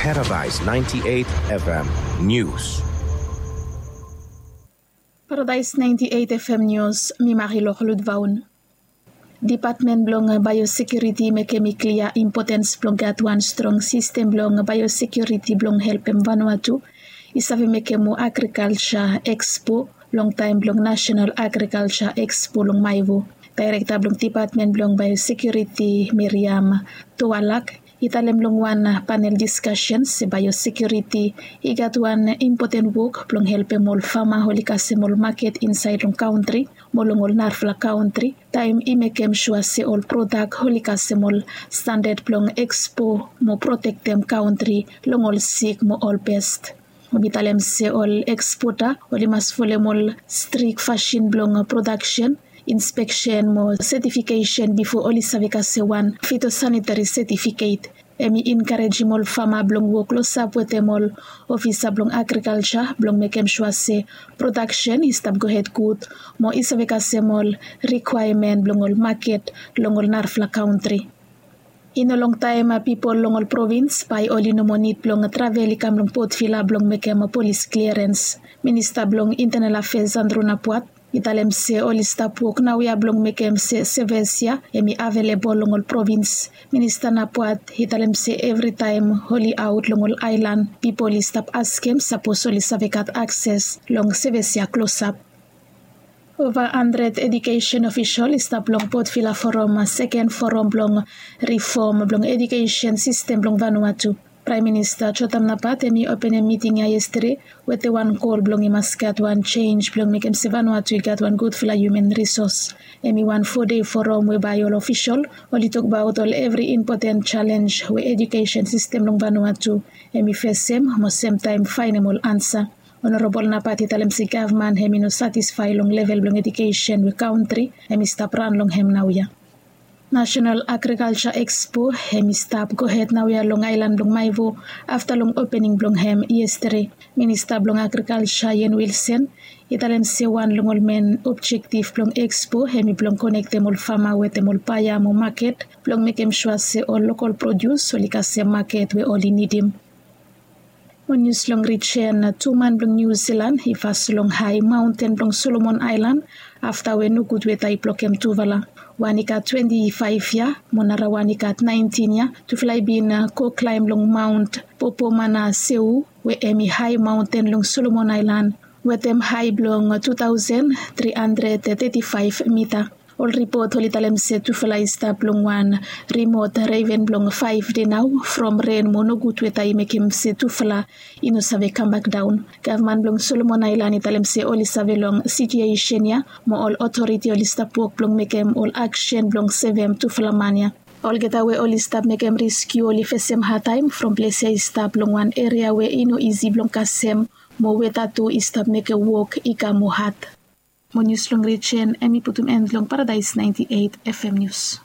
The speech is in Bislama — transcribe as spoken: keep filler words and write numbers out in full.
Paradise ninety-eight F M News. Paradise ninety-eight F M News, mi Marilor Ludvaun. Dipatmen blong biosekiuriti mekem i klia impotens blong gat wan strong sistem blong biosekiuriti blong helpem Vanuatu i save mekem moa agrikalja ekspo long taem blong Nasenal Agrikalja Ekspo long Maevu. Daerekta blong Dipatmen blong Biosekiuriti, Miriam Toalak, i talem long wan panel diskasen se biosekiuriti i gat wan impoten wok blong helpem ol fama oli kasem ol maket insaed long kantri mo long ol narafala kantri, taem i mekem sua se ol prodak oli kasem ol standad blong ekspo mo protektem kantri long ol sik mo ol pest. Hemi talem se ol ekspota oli mas folem ol strik fasin blong prodaksen, inspeksen mo setifikesen bifo oli save kasem wan fitosanitari setifiket. Hemi enkarejem ol fama blong wok klosap wetem ol ofisa blong agrikalja blong mekem sua se prodaksen i stap gohed gud mo i save kasem ol rikwaemen blong ol maket long ol narafala kantri. I no longtaem pipol long ol provins bae oli no moa nid blong travel i kam long Port Vila blong mekem polis kliarens. Minista blong Intenal Afeas Andrew Napuat i talem se oli stap wok naoia blong mekem se seves ya hemi avelebol long ol provins. Minista Napuat i talem se evritaem oli aot long ol aelan pipol i stap askem sapos oli save gat akses long seves ya klosap. Ova handred edukesen ofisol i stap long Port Vila Forum seken forum blong rifom blong edukesen sistem blong Vanuatu. Praem Minista Jotam Napat hemi openem miting ya yestade wetem wan gol blong i mas gat wan jenj blong mekem se Vanuatu i gat wan gudfala human risos. Hemi wan fo dei forum we bae ol ofisol oli tokbaot ol evri impoten jalenj we edukesen sistem long Vanuatu hemi fesem mo semtaem faenem ol ansa. Onorabol Napat i talem se gavman hemi no satisfae long level blong edukesen we kantri hemi stap ran long hem naoia. Nasenal Agrikalja Ekspo hemi stap gohed naoia long aelan blong Maevu afta long opening blong hem yestade. Minista blong Agrikalja Ian Wilson i talem se wan long ol men objektif blong ekspo hemi blong konektem ol fama wetem ol baea mo maket blong mekem sua se ol lokol produs oli kasem maket we oli nidim. Mo nius long rijen, tu man blong Niu Zilan i fas long hae maonten blong Solomon Aelan afta we nogud weta i blokem tufala. Wan i gat twenti faef yia mo narawan i gat naentin yia. Tufala i bin go klaem long Maon Popomanaseu we hemi hae maonten long Solomon Aelan wetem hae blong tu taosen tri handred teti faef mita. Ol ripot oli talem se tufala i stap long wan rimot reven blong faef dei nao from ren mo nogud weta i mekem se tufala i no save kambak daon. Gavman blong Solomon Aelan i talem se oli save long sitiuesen ya mo ol otoriti oli stap wok blong mekem ol aksen blong sevem tufala man ya. Olgeta we oli stap mekem reskiu oli fesem hadtaem from ples ya i stap long wan eria we i no isi blong kasem mo weta tu i stap mekem wok i kam moa had. Mo nius long rijen hemi putum en long Paradaes naenti eit F M Nius.